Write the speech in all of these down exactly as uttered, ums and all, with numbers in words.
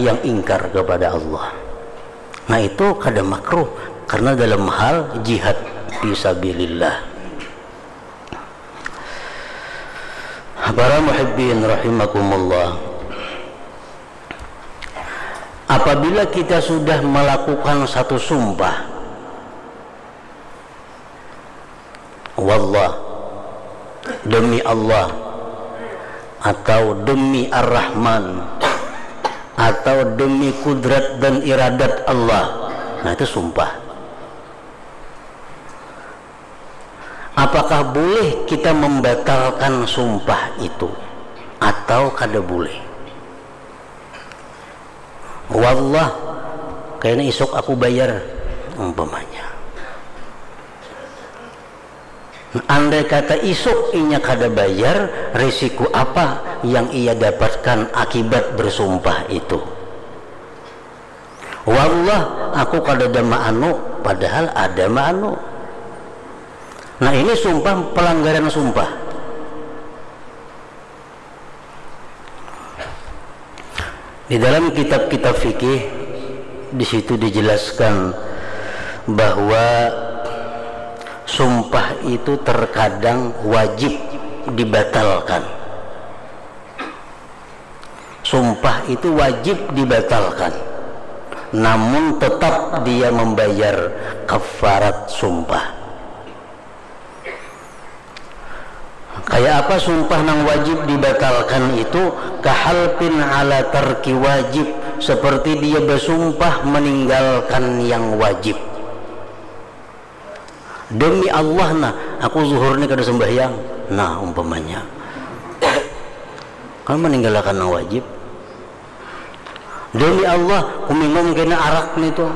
yang ingkar kepada Allah. Nah, itu kada makruh karena dalam hal jihad fisabilillah. Para muhibbin rahimakumullah. Apabila kita sudah melakukan satu sumpah, wallah, demi Allah, atau demi Ar-Rahman, atau demi kudrat dan iradat Allah. Nah, itu sumpah. Apakah boleh kita membatalkan sumpah itu atau kada boleh? Wallah, kayaknya isuk aku bayar, umpamanya. Andai kata isuk inya kada bayar, risiko apa yang ia dapatkan akibat bersumpah itu? Wallah, aku kada ada maanu, padahal ada maanu. Nah, ini sumpah, pelanggaran sumpah. Di dalam kitab-kitab fikih, di situ dijelaskan bahwa sumpah itu terkadang wajib dibatalkan. Sumpah itu wajib dibatalkan, namun tetap dia membayar kafarat sumpah. Kayak apa sumpah nang wajib dibatalkan itu? Kahalfin ala tarki wajib, seperti dia bersumpah meninggalkan yang wajib. Demi Allah, nah, aku zuhur ni kada sembahyang, nah, umpamanya. Kan meninggalkan yang wajib. Demi Allah, kuminum kena arak ni tuh.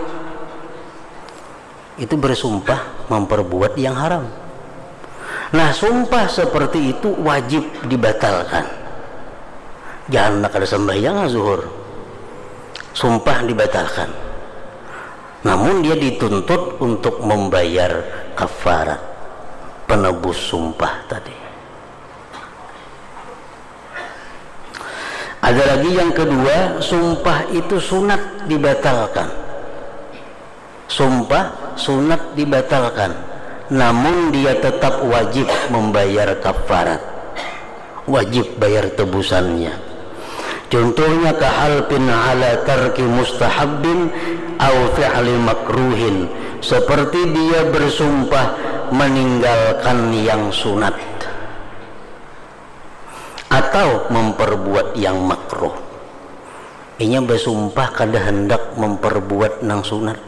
Itu bersumpah memperbuat yang haram. Nah, sumpah seperti itu wajib dibatalkan. Jangan nak ada sembahyang zuhur. Sumpah dibatalkan. Namun dia dituntut untuk membayar kafarat, penebus sumpah tadi. Ada lagi yang kedua, sumpah itu sunat dibatalkan. Sumpah sunat dibatalkan, namun dia tetap wajib membayar kafarat. Wajib bayar tebusannya. Contohnya, kahalfin ala tarki mustahabbin au fi'li makruhin, seperti dia bersumpah meninggalkan yang sunat atau memperbuat yang makruh. Inya bersumpah kada hendak memperbuat nang sunat.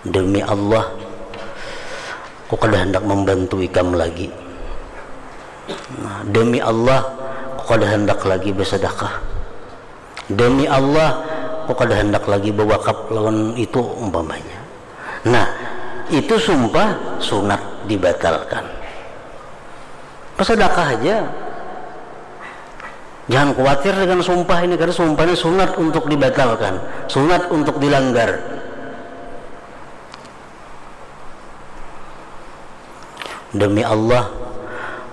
Demi Allah, aku kada hendak membantu ikam lagi. Nah, demi Allah, aku kada hendak lagi bersedekah. Demi Allah, aku kada hendak lagi berwakaf lawan itu, umpamanya. Nah, itu sumpah sunat dibatalkan. Bersedekah aja. Jangan khawatir dengan sumpah ini, karena sumpah ini sunat untuk dibatalkan, sunat untuk dilanggar. Demi Allah,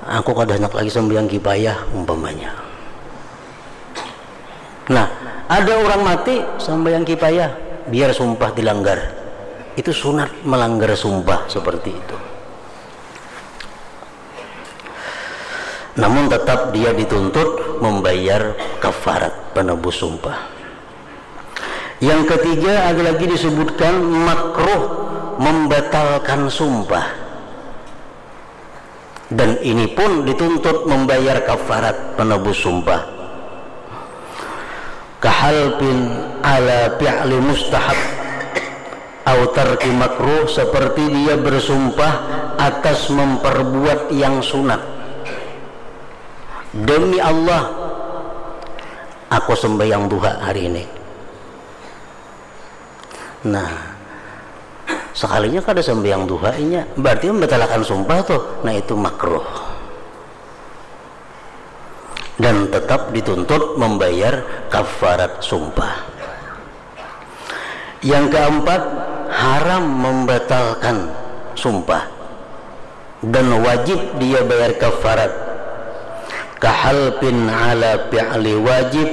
aku kada hendak lagi sembahyang kipayah, umpamanya. Nah, ada orang mati sembahyang kipayah, biar sumpah dilanggar. Itu sunat melanggar sumpah seperti itu. Namun tetap dia dituntut membayar kafarat, penebus sumpah. Yang ketiga, ada lagi disebutkan makruh membatalkan sumpah. Dan ini pun dituntut membayar kafarat, penebus sumpah. Kahalfin ala fi'li mustahab au tarki makruh, seperti dia bersumpah atas memperbuat yang sunat. Demi Allah, aku sembahyang duha hari ini. Nah, sekalinya kada sembahyang duha inya, berarti membatalkan sumpah tuh. Nah, itu makruh. Dan tetap dituntut membayar kafarat sumpah. Yang keempat, haram membatalkan sumpah dan wajib dia bayar kafarat. Kahalfin ala fi'li wajib